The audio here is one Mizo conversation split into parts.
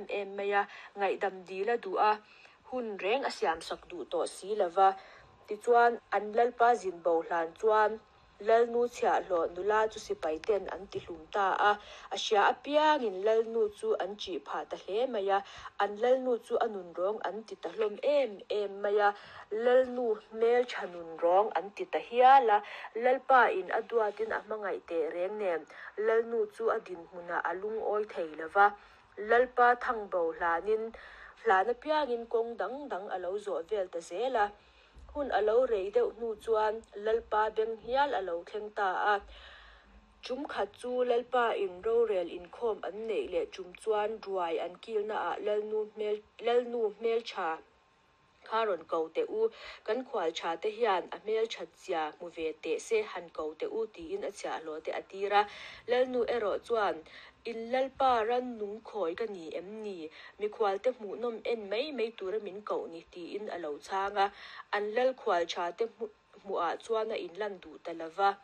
em mai a, ngaihdam dil a duh a, hun reng a siamsak duh tawh si lo va. Tichuan, an Lalpa zin bo hlan chuan Lalnu chhiahhlawh nula chu sipai ten an tihlum ta a, a hria apiangin Lalnu chu an ṭih phah ta hle mai a, an Lalnu chu a nunrawng an ti ta hlawm em em mai a, Lalnu hmelṭha nunrawng an ti ta hial a, Lalpa in a duatin a hmangaih teh reng nen Lalnu chu a dinhmunah a lungawi thei lo va, Lalpa thangbo hlanin hlan apiangin kawng dang dang a lo zawh vel ta zel a. Hun a lo rei deuh hnu chuan Lalpa beng hial a lo thleng ta a. Ṭum khat chu Lalpa in rorel inkhawm an neih leh ṭum chuan ruai an kilnaah Lalnu hmel Lalnu hmelṭha kha rawn ko teh u, kan khual ṭha te hian a hmelṭhat zia hmu ve teh se han ko teh u tiin a chhiahhlawh te a tir a. Lalnu erawh chuan In Lalpa rannung khawi ka ni em ni? Mikhualte hmuhnawm en mai mai tura min koh ni tiin a lo chhang a. An lal khual tha te hmuhah chuan a inlan duh ta lo va.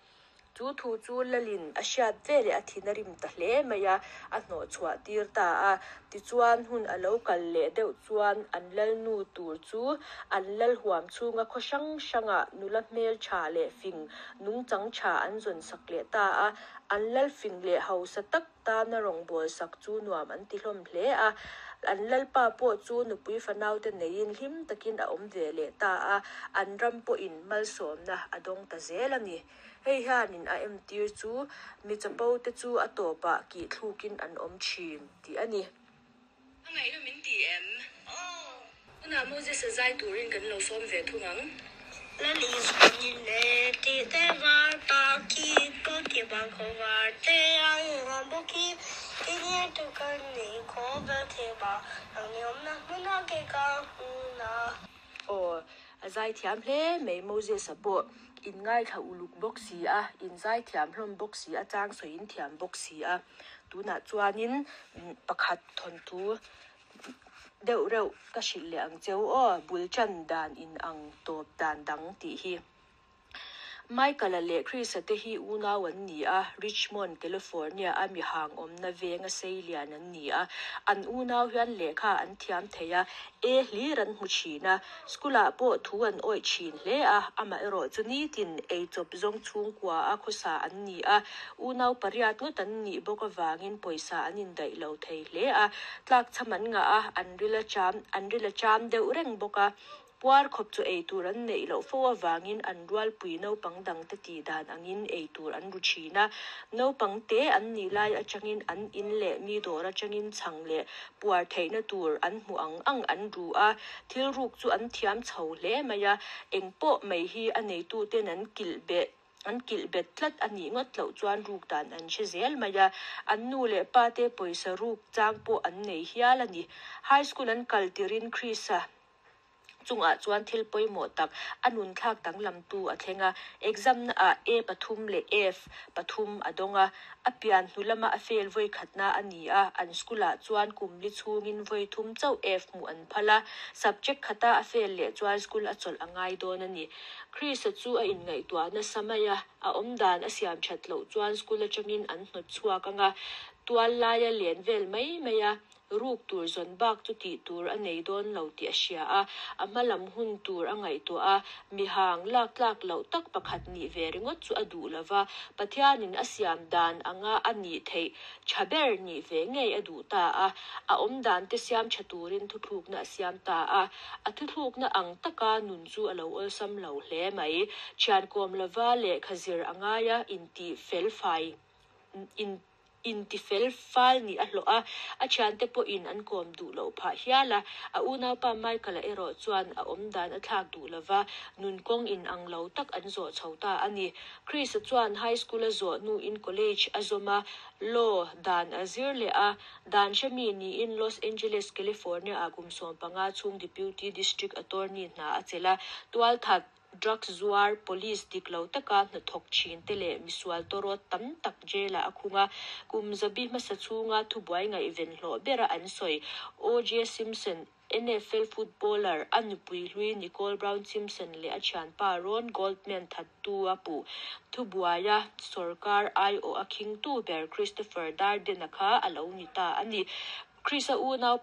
Chu thu chu Lalin a hriat veleh a thin a rim ta hle mai a, a hnawh chhuah tir ta a. Tichuan hun a lo kal leh deuh chuan an lalnu tur chu an lal huam chhunga khaw hrang hrangah nula hmel tha leh fing nungchang tha an zawn sak leh ta a. An lalfing leh hausa tak tana rawngbâwl sak chu nuam an ti hlawm hle a. An lalpa pawh chu nupui fanaute neiin hlim takin a awm ve leh ta a, an ram pawhin malsawmna a dawng ta zel a ni. Hei hianin a entir chu mi chapote chu a tawpah kihthlûkin an awm ṭhîn tih a ni. A ngaihna min ti em? Aw. Tunah Moses-a zai turin kan lo sawm ve thung ang. Lal Isuan in e tih te var ta khi ko ti bang khaw var te ang ang bawk hi ti nia tu kan ni khaw bel the ba nang ni awmna hmuna ke ka hmuna. Aw, a zaithiam hle mai Moses-a pawh in ngaithla uluk bawk si a, in zaithiam hlawm bawk si a, chang sawiin thiam bawk si a. Tunah chuanin pakhat thawnthu deuh reuh ka hrilh leh ang cheu aw, bul tan dan in ang tawp dan dang tih hi. Michael-a leh Chris-a te hi unau an ni a, Richmond, California a mihang awmna venga sei lian an ni a. An unau hian lehkha an thiam thei a, E hlir an hmu thin a. School-ah pawh thu an awih thin hle a, amaherawh chu nitin eichawp zawng chhungkua a khawsa an ni a, unau pariat ngawt an nih bawk avangin pawisa an indaih lo thei hle a, tlakchham an ngah a, an ril a cham an ril a cham deuh reng bawk a. Puar khawp chu ei tur an neih loh fo avangin an rualpui naupang dangte tih dan angin ei tur an ru thin a. Naupang te an nih lai atangin an in leh mi dawr atangin chhang leh puar theihna tur an hmuh ang ang an ru a, thil ruk chu an thiam chho hle mai a, eng pawh mai hi a neituten an kilh beh an kilh bet tlat a nih ngawt loh chuan ruk dan an hre zel mai a, an nu leh pa te pawisa ruk chang pawh an nei hial a ni. High school an kal tirin Chris-a Chungah chuan thil pawimawh tak a nunthlak danglamtu a thleng a, exam naah A pathum leh F pathum a dawng a, a pian hnu lama a fail vawi khatna a ni a, an school-ah chuan kum li chhungin vawi thum chauh F hmuh an phal a, subject khata a fail leh chuan school a chawlh a ngai dawn a ni. Chris-a chu a inngaihtuah nasa mai a, a awmdan a siam that loh chuan school atangin an hnawt chhuak ang a, tual laia len vel mai mai a, Ruk tur zawn bak chu tih tur a nei dawn lo tih a hria a, a hma lam hun tur a ngaihtuah a, mihang lak tlak loh tak pakhat nih ve ringawt chu a duh lo va, Pathianin a siam dan anga a nih theih tha ber nih ve ngei a duh ta a, a awm dan te siam tha turin thuthlukna a siam ta a, a thuthlukna ang taka nun chu a lo awlsam lo hle mai. Thian kawm lova lehkha zir a ngai a, intih fel fai in. Intifel fal nih a hlawh a, a thiante pawhin an kawm duh loh phah hial a. A unaupa Michael-a erawh chuan a awmdan a thlak duh lo va, nun kawng in ang lo tak an zawh chho ta a ni. Chris-a chuan high school a zawh hnuin college a zawm a, law dan a zir leh a. Dan hremi niin Los Angeles, California-ah kum 15 chhung Deputy District Attorney hna a chelh a, tualthat Drugs zuar, police dik lo taka hnathawk thin te leh misual tawrawt tam tak jail ah a khung a. Kum zabi hmasa chhunga thubuai ngaihven hlawh bera an sawi OJ Simpson, NFL footballer, a nupui hlui Nicole Brown Simpson leh a thianpa Ron Goldman thattu a puh. Thubuaia sawrkar aiawh a khingtu ber Christopher Darden-a kha a lo ni ta a ni. Chris-a unaupa.